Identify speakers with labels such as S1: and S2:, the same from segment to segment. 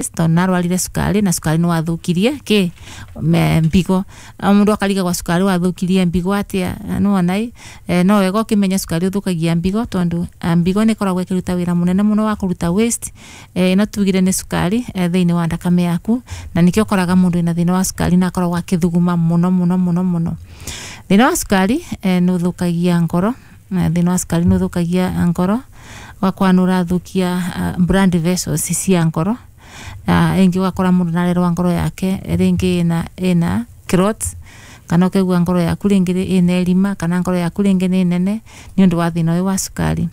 S1: Tondu narwarire cukari na cukari niwathukirie ki mbigo. Mundu akarigagwa cukari wathukirie mbigo atia. Nĩwona ĩ, no wega ũkĩmenya cukari ũthũkagia mbigo, tondu mbigo nĩ ĩkoragwo ĩkĩruta wĩra mũnene mũno wa kũruta waste ĩno tugire nĩ cukari thĩinĩ wa thakame yaku, na nĩkĩo ũkoraga mũndũ wĩna thĩna wa cukari na akoragwo akĩthuguma mũno mũno mũno mũno. Thĩna wa cukari nĩ ũthũkagia ngoro. Thĩna wa cukari nĩ ũthũkagia ngoro, ũgakora nĩ ũrathũkia blood vessels cia ngoro. Rĩngĩ ũgakora mũndũ nĩarerwo ngoro yake rĩngĩ ĩna clot, kana ũkaigua ngoro yaku rĩngĩ ĩna ĩrima, kana ngoro yaku rĩngĩ nĩ nene nĩ ũndũ wa thĩna ũyũ wa cukari.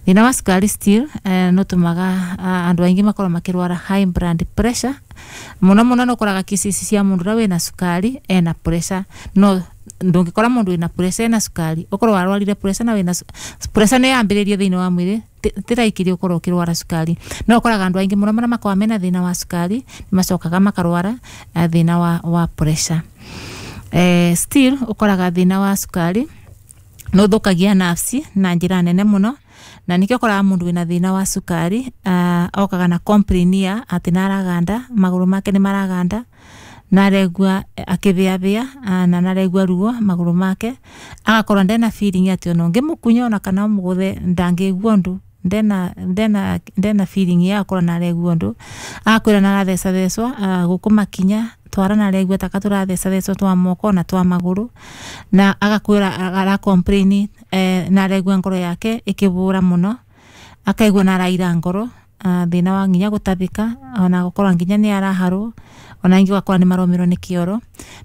S1: Thĩna wa cukari still nĩ ũtũmaga andũ aingĩ makorwo makĩrwara high blood pressure mũno mũno. Nĩ ũkoraga cases cia mũndũ ũrĩa wĩna cukari ena pressure, no ndũngĩkora mũndũ wĩna pressure ena cukari. Ũkorwo warwarire pressure na wĩna pressure nĩ yambĩrĩrie thĩinĩ wa mwĩrĩ, ti ũkorwo ũkĩrwara cukari. No ũkoraga andũ aingĩ mũno marĩa makoragwo mena thĩna wa cukari nĩ macokaga makarwara thĩna wa pressure. Still ũkoraga thĩna wa cukari nĩ ũthũkagia nerves na njĩra nene mũno, na nĩkĩo ũkoraga mũndũ wĩna thĩna wa cukari okaga na complain ya atĩ nĩaraganda, magũrũ make nĩ maraganda, naregua akĩbĩabĩa na naregua ruo magũrũ make, agakorwo ndena feeling atĩ ona ũngĩmũkunya ona kana ũmũgũthe ndangĩigua ũndũ, ndena feeling ya gũkorwo naregua ũndũ. Agakwĩra narathecathecwo gũkũ makinya twara, naregua taka tũrathecathecwo twa moko na twa magũrũ, na agakwĩra ara complain naregua ngoro yake ĩkĩbũra mũno, akaigua naraira ngoro, thĩna wa nginya gũtabĩka, ona gũkorwo nginya nĩ araharwo, ona ingĩ ũgakora nĩ maromerwo nĩ kĩoro.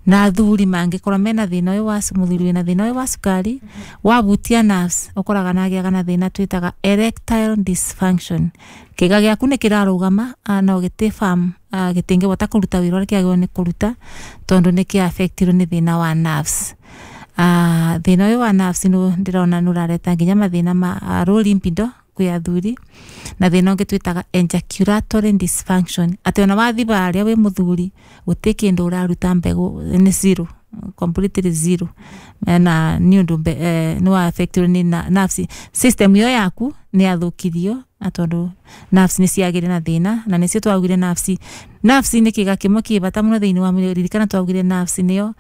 S1: Na athuri mangĩkorwo mena thĩna ũyũ wa mũthuri wĩna thĩna ũyũ wa cukari wabutia nerves, ũkoraga nagĩaga na thĩna twĩtaga erectile dysfunction. Kĩga gĩaku nĩ kĩrarũgama no gĩtĩ firm, gĩtingĩhota kũruta wĩra ũrĩa kĩagĩrĩirwo nĩ kũruta, tondũ nĩ kĩ affectirwo nĩ thĩna wa nerves. Thĩna ũyũ wa nerves nĩ ndĩrona nĩ ũrareta nginya mathĩna ma low libido kwĩ athuri, na thĩna ũngĩ twĩtaga ejaculatory dysfunction, atĩ ona wathiĩ harĩa wĩ mũthuri gũtirĩ kĩndũ ũraruta, mbegũ nĩ zero, completely zero, na nĩ ũndũ nĩ wa affectirwo nĩ nerves system ĩyo yaku nĩ yathũkirio, tondũ nerves nĩ ciagĩire na thĩna, na nĩcio twaugire nerves nĩ kĩga kĩmwe kĩ bata mũno thĩinĩ wa mwĩrĩ. Ririkana twaugire nerves nĩyo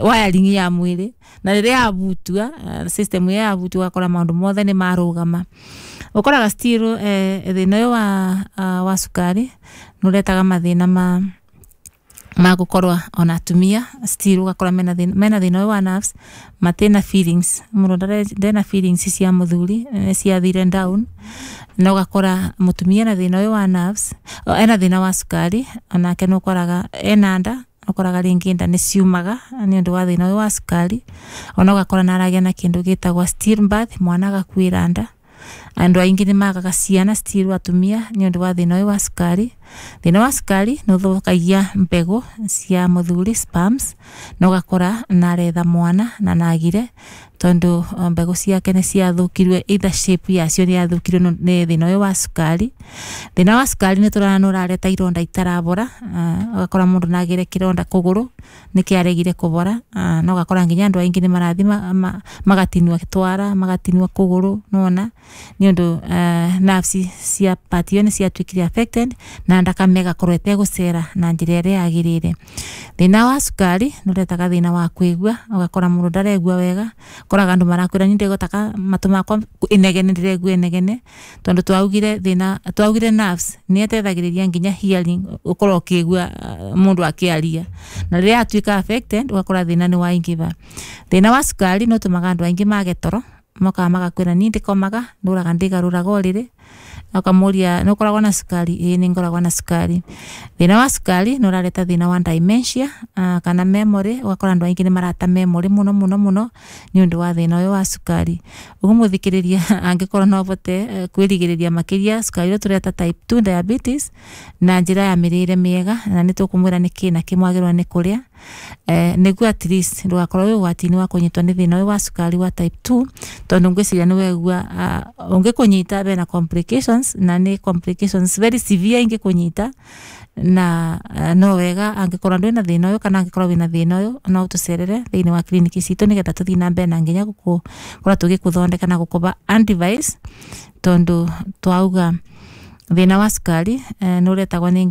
S1: wiring ya mwĩrĩ, na rĩrĩa yabutua, system ĩyo yabutua, ũgakora maũndũ mothe nĩ marũgama. Ũkoraga still thĩna ũyũ wa cukari nĩ ũretaga mathĩna ma gũkorwo ona atumia still ũgakora mena thĩna ũyũ wa nerves, matina feelings, mũndũ ndena feelings cia mũthuri, nĩ ciathire down. Na ũgakora mũtumia ena thĩna ũyũ wa nerves, ena thĩna wa cukari, onake nĩ ũkoraga ena nda, ũkoraga rĩngĩ nda nĩ ciumaga nĩ ũndũ wa thĩna ũyũ wa cukari. Ona ũgakora nĩ aragĩa na kĩndũ gĩtagwo stillbirth, mwana agakuĩra nda. Andũ aingĩ nĩ magaga ciana still atumia nĩ ũndũ wa thĩna ũyũ wa cukari. Thĩna wa cukari nĩ ũthũkagia mbegũ cia mũthuri, sperms, na ũgakora naretha mwana na nagire, tondũ mbegũ ciake nĩ ciathũkirio, either shape yacio nĩ yathũkirio nĩ thĩna ũyũ wa cukari. Thĩna wa cukari nĩ tũrona nĩ ũrareta ironda itarabora, ũgakora mũndũ nagĩre kĩronda kũgũrũ nĩ kĩaregire kũbora, na ũgakora nginya andũ aingĩ nĩ marathiĩ magatinua twara, magatinua kũgũrũ, nĩwona nĩ ũndũ nerves cia part ĩyo nĩ ciatuĩkire affected, na thakame ĩgakorwo ĩtegũcera na njĩra ĩrĩa yagĩrĩire. Thĩna wa cukari nĩ ũretaga thĩna wa kũigua, ũgakora mũndũ ndaregua wega. Ũkoraga andũ marakwĩra niĩ ndĩgotaka matũ makwa inegene, ndĩregua inegene, tondũ twaugire thĩna, twaugire nerves nĩ ĩteithagĩrĩria nginya hearing, ũkorwo ũkĩigua mũndũ akĩaria, na rĩrĩa yatuĩka affected ũgakora thĩna nĩ waingĩha. Thĩna wa cukari nĩ ũtũmaga andũ aingĩ mage toro, mokaga magakwĩra niĩ ndĩkomaga, ndũraga ndĩgarũraga ũrĩrĩ. Ũkamũria nĩ ũkoragwo na cukari? Ĩĩ, nĩ ngoragwo na cukari. Thĩna wa cukari nĩ ũrareta thĩna wa dementia kana memory, ũgakora andũ aingĩ nĩ marata memory mũno mũno mũno nĩ ũndũ wa thĩna ũyũ wa cukari. Ũguo mũthikĩrĩria, angĩkorwo no ũhote kwĩrigĩrĩria makĩria cukari ũrĩa tũreta type 2 diabetes na njĩra ya mĩrĩre mĩega, na nĩ tũkũmwĩra nĩkĩ na kĩ mwagĩrĩirwo nĩ kũrĩa nĩguo at least ndũgakorwo wĩ ũgwati-inĩ wa kũnyitwo nĩ thĩna ũyũ wa cukari wa type 2, tondũ ngwĩciria nĩ wegua ũngĩkũnyita bena complications, na nĩ complications very severe ingĩkũnyita. Na no wega angĩkorwo ndwĩna thĩna ũyũ kana angĩkorwo wĩna thĩna ũyũ, no ũtũcerere thĩinĩ wa kiriniki citũ, nĩgetha tũthiĩ na mbere na nginya gũkorwo tũgĩkũthondeka na gũkũba advice, tondũ twauga Thina wa cukari nĩ ũretagwo nĩ nginya.